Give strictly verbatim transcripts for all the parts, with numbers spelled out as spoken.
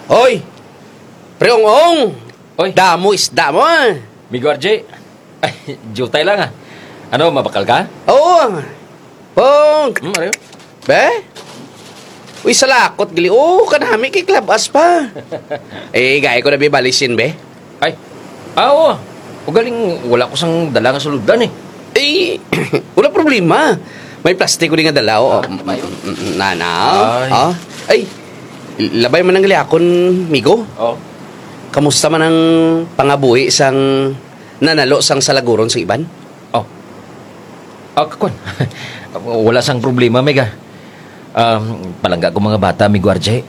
Hoy! Pre Ong-ong! Oy. Damo isda mo, ah. Migo R J. Ay, jutay lang, ah. Ano, mabakal ka? Oo. Pong! Hmm, ano yun? Be? Uy, salakot gali. O, kanami kay klab-as pa. Eh, gahi ko na bi balisin, be. Ay. Ah, oo. Ugaling wala ko sang dala nga sulod-an, eh. Eh, wala problema. May plastic ko di nga dala, o. Ah, may. Mm, mm, na, na. Ay. Ah. Ay, labay man ang gali akon, migo. O. Kamusta man ang pangabuhi sang nanalo sang salaguron sa iban? O. Ah, kakwan. Wala sang problema, Meg, ah. Um, palangga ko mga bata, migo R J.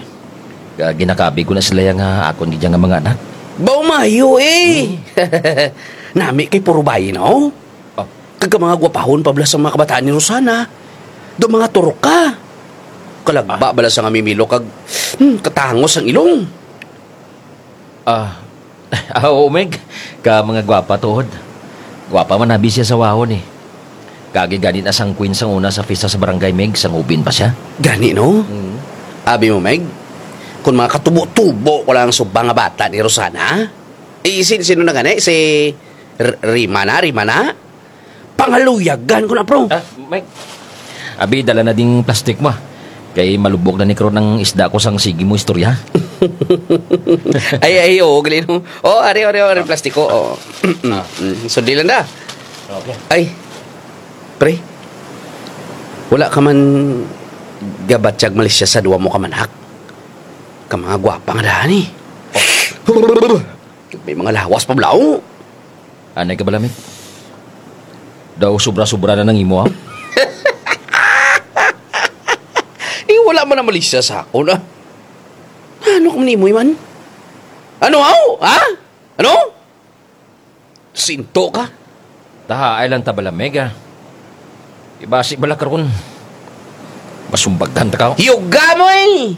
Ah, ginakabi ko na sila ya nga akon gid ya nga mga anak. Baw mayo, eh. Hmm. Nami kay puro bayi na, o. Ah. Kag ka mga gwapahon pa bala sang mga kabataan ni Rosana. Daw mga turok ka. Kalagba bala sa nga mimilo kag, hmm, katangos ang ilong. Ah, ah, oo, Meg. Ka mga gwapa tuod. Gwapa man abi sa asawahon, eh. Kaagi gani na sang queen sang una sa pista sa barangay, Meg, sang hubin pa siya. Gani, no? Mm. Abi mo, Meg, kon mga katubo-tubo ko lang ang subang nga bata ni Rosana, eh, sin-, sino na gani? Si R-, Rima na, Rima na? Pangaluyagan ko na, pro. Ah, Mike. Abi, dala na ding plastic mo, ah. Kay malubok na ni karon ang isda ko sang sige mo istorya. Ay, ay, oo, gali, no? O, ari, ari, ari, plastiko, o. Ah. Mm, sundili lang da. Okay. Ay, pre. Wala ka man gabatyag malisya sa duwa mo ka manhak? Ka mga gwapa nga daan, eh. May mga lawas pa bala, o. Anay ka bala, Mike? Daw sobra-sobra na nang imo, ha? Eh, wala man na malisya sa akon, ah. Ano ka man imo, man? Ano, aw? Ha? Ano? Sinto ka? Tahaay lang ta bala, Meg, ah. Kay basi bala karon, masumbagan ta ka. Yuga mo, eh!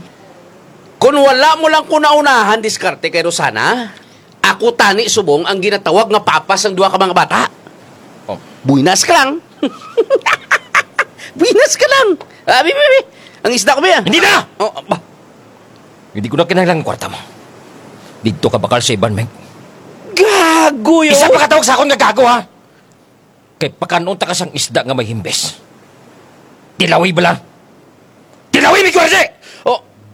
Kon wala mo lang ko naunahan diskarte kay Rosana, ako tani subong ang ginatawag nga papa sang duha ka mga bata. O. Buenas ka lang. Buenas ka lang. Abi, abi, abi. Ang isda ko, bi, ah. Hindi na! O, ba. Hindi ko na kinahanglan ang kwarta mo. Didto ka bakal sa iban, Mike. Gago, yo. Isa pa ka tawag sa akon nga gago, ha? Kay pakan-on ta ka sang isda nga may himbis. Tilawi bala. Tilawi, Miguel Jose! O,